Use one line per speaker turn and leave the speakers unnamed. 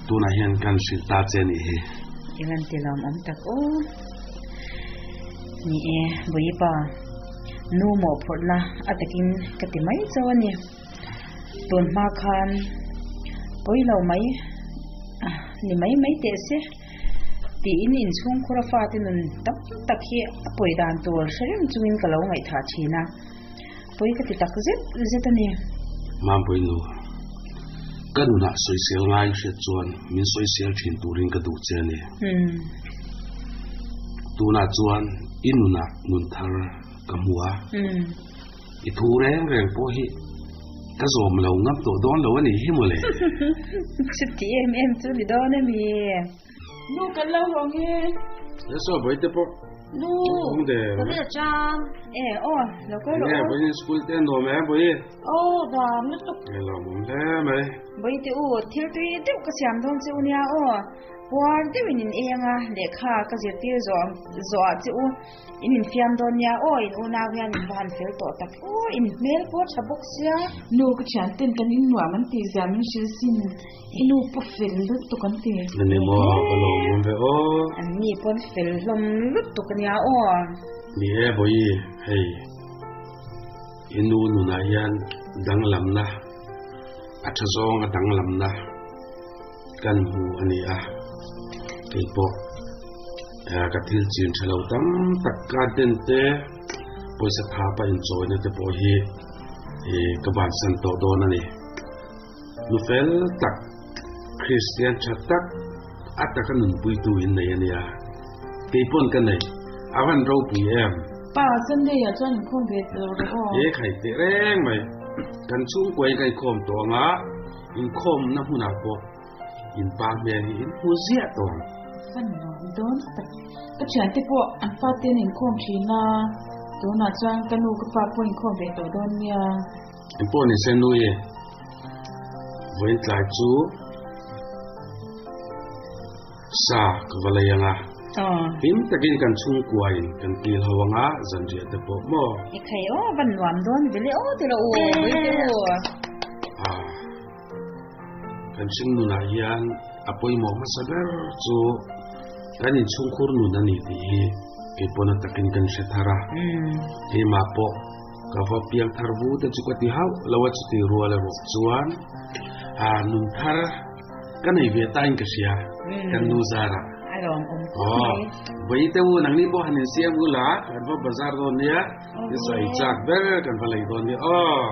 Tunah hian kan hrilh ta che nih hi.
I van ti lawmawm tak aw. Ni e, Bawipa, nu mawhphurhna a takin ka ti mai chauh a ni. Tun hma khan pawi lo mai ni mai mai teh se tiin inchhungkhura fate nun tam tak hi a pawi dan tur hre reng chungin ka lo ngaihthah thin a, pawi ka ti tak zet zet a ni.
Mampuii nu, ka nunah sawisel ngai hriat chuan min sawisel thin turin ka duh che a ni. Tunah chuan i nunah nun thar ka hmu a. I thu reng reng pawh hi ka zawm lo ngam tawh dawn lo a nih hi mawle.
Chuti em em chu ni dawn a mi.
Nu kan lo hawng e.
Yes aw bawihte pawh.
Nu ka vel chang.
E aw lo kal rawh.
Nge bawihin school te nuam e bawihi.
Aw nuam lutuk.
Nge lawmawm hle mai.
Bawihte u thil tui deuh ka siam dawn che u nia aw. Puar deuhin in ei anga lehkha ka zirtir zawh zawh ah che u. In infiam dawn nia aw, in unau hian in va han fel tawh tak aw, in hmel pawh tha bawk sia.
Nu ka thian ten kan in nuam an tih zia min hrilh sin, i nu pawh fel lutuk an ti.
Ni maw, ka lo awm ve aw.
An ni pawn fel hlawm lutuk ania aw.
Ni e Bawihi, hei i nu nunah hian danglamna a tha zawnga danglamna kan hmu a ni a, keipawh. Ka thil chin tha lo tam tak ka den te pawisa tha pa inchawina te pawh hi ka bansan tawh dawn a ni. Nu fel tak, Kristian tha tak a taka nunpuitu in nei a nia. Kei pawn ka nei, a van ropui em?
Pa, Sunday ah chuan inkhawm ve tawh rawh aw.
He khai teh reng mai. Kan chhungkua in ka inkhawm tawh ang a, inkhawmna hmunah pawh In pa hmel hi in hmu ziah tawh ang.
Fan nuam dawn tak. Ka thiante pawh an fa te an inkhawm thin a, tunah chuan ka nu ka pa pawh inkhawm ve tawh dawn nia.
Eng pawh ni se nui e. Vawiin tlai chu sa ka va lei ang a. Hlim takin kan chhungkua in kan kil ho ang a, zanriah te pawh maw.
I khai aw, van nuam dawn vele aw ti rawh u, vawiin te u.
Kan hring nunah hian a pawimawh hmasa ber chu kan inchhungkhur nun a ni tih hi kei pawn a takin kan hre thar a. Keimah pawh ka va piang thar vu te chu ka ti hauh lo a chuti rual erawh chuan nun thar ka nei ve tain ka hria kan nu zarah. Aw vawi te u nangni pawh han insiam ula kan va bazar dawn nia ni sawi chak ber kan va lei dawn nia aw.